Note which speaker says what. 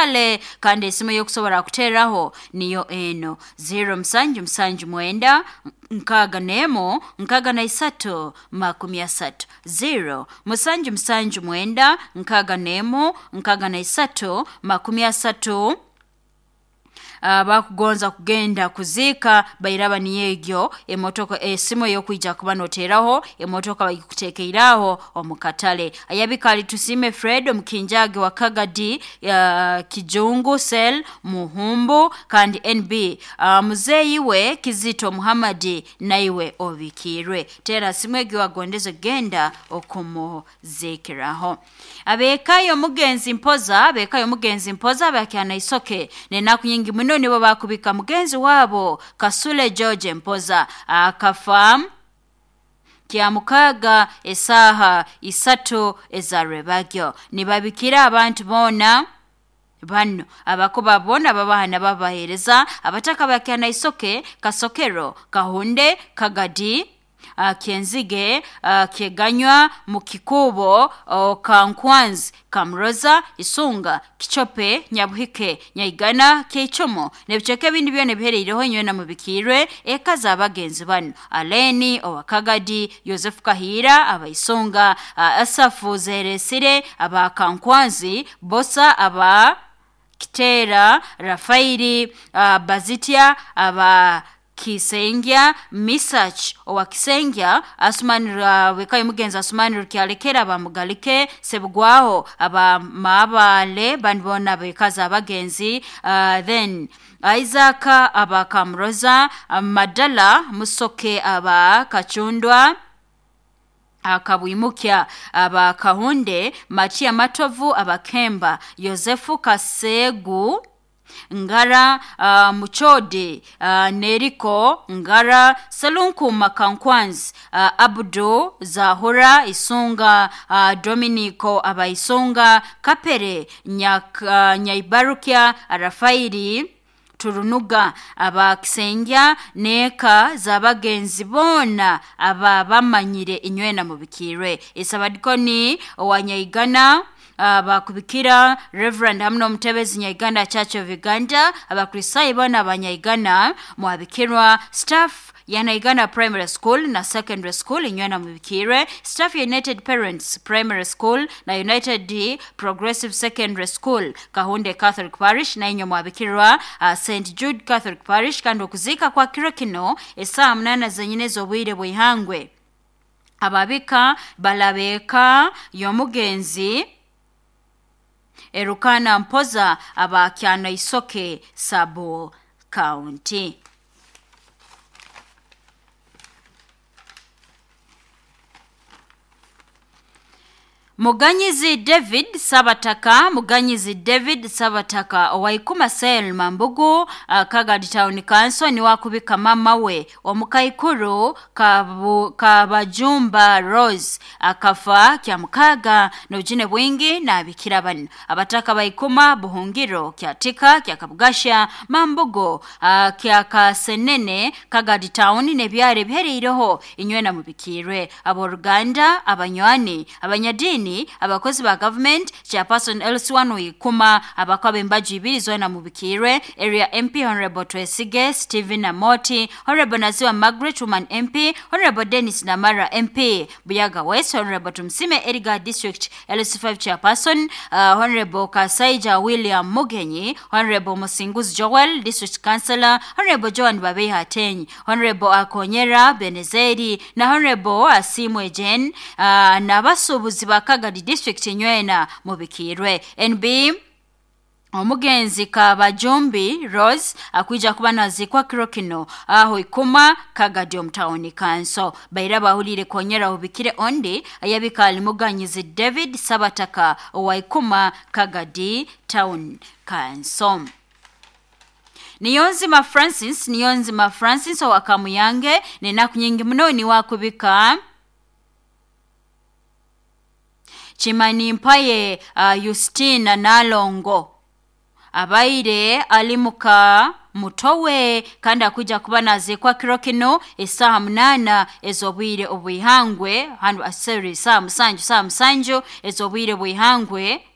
Speaker 1: Katale kandi esimu yokusobora kuteraho niyo eno 0779 61 63 30 0 779 61 63 30. Bakugonza kugenda kuziika bairaba niyegyo emotoka esimu eyokwija kuba noteraho emotoka bagikutekeiraho omu katale. Ayabika tusime Fred omukinjage wa Kagadi, Kijungu Sel Muhumbu kandi NB, muzeeyi we Kizito Muhammadi naiwe obikirwe. Tera simu egyo wagondeze genda okumuzikiraho. Abekayo mugenzi mpoza, abekayo mugenzi mpoza bakyana isoke nenaku nyingi muno nibo bakubika mugenzi wabo Kasule George Mpoza akafa kya mukaga esaha 3 ezarebagyo. Nibabikira abantu bona bano abakuba bona babahana babahereza abataka bakyana isoke Kasokero Kahunde Kagadi, Kenzige, Keganywa Mukikubo, Kankwanzi Kamroza Isunga Kichope Nyabuhike Nyaigana Keichomo nebicheke bindi byone bihereireho nywe na mubikirwe eka z'abagenzi bano Aleni owakagadi Joseph Kahira abaisunga, Asafu Zeresire aba Kankwanzi Bosa aba Kitera Rafairi, Bazitia aba Kisengya Misach owa Kisengya Asumani wekayo mugenzi Asumani Rukyalekera abamugalike Sebugwaho aba Mabale banibona bekaza abagenzi, then Isaac aba Kamroza Madala Musoke aba Kachundwa Akabwimukya aba Kahunde Matia Matovu aba Kemba Yosefu Kasegu Ngara, Muchode, Neriko Ngara Salunku Makankwanzi, Abdu Zahura Isunga, Dominico Abaisunga Kapere Nyaibarukia Rafairi Turunuga abakisengya neka z'abagenzi bona aba bamanyire inywena mubikirwe. Isabadikoni owanyaigana bakubikira Reverend hamno Mutebezi Nyaiganda Church of Uganda abakrisayi bona abanyaigana mwabikirwa staff ya Naigana Primary School na Secondary School inywena mubikirwe, staff ya United Parents Primary School na United Progressive Secondary School Kahunde Catholic Parish na inyo mwabikirwa, St Jude Catholic Parish kandi okuzika kwa kiro kino esaa 8 zenyine z'obwire bw'ihangwe. Ababika balabeka y'omugenzi Erukana Mpoza abakyana Isoke Sabo County. Muganyizi David Sabataka, Muganyizi David Sabataka owaikuma Sel Mambugu, Kagadi Town Council ni wakubika mama we omukaikuru Kabajumba Rose akafa kya mukaga n'obujune bwingi n'abikira bano abataka baikuma Buhungiro kyatika kya Kabugasha Mambugo, kya Kasenene Kagadi Town n'ebyaro bihereireho inywena mubikirwe aboruganda abanywani abanyadini abakozi ba government chairperson LC1 Ikuma abakwabe embaji ibiri zona mubikirwe area MP Honorable Twesige Stephen Amoti Honorable Naziwa Margaret Woman MP Honorable Dennis Namara MP Buyaga West Honorable Tumsime Eriga District LC5 chairperson, Honorable Kasaija William Mugenyi Honorable Musinguzi Joel District Councillor Honorable Joan Babeha Ateny Honorable Akonyera Benezeri na Honorable Asimwe Jen, n'abasuubuzi ba Kagadi District nywena mubikirwe. NB omugenzi Kabajumbi Rose akuija kuba nazikwa kiro kino aho Ikuma Kagadi omutawuni kanso. Baira bahulire konyera ubikire ondi ayabika alimuganyizi David Sabataka owa Ikuma Kagadi Town Council. Niyonzima Francis, Niyonzima Francis owa Kamuyange nenaku nyingi muno ni wakubika Chimani Mpaye, Justina Nalongo abaire alimuka mutowe kandi akuja kuba nazikwa kiro kino esaha 8 ez'obwire obwihangwe hanu aseri saa 7 saa 7 ez'obwire bwihangwe.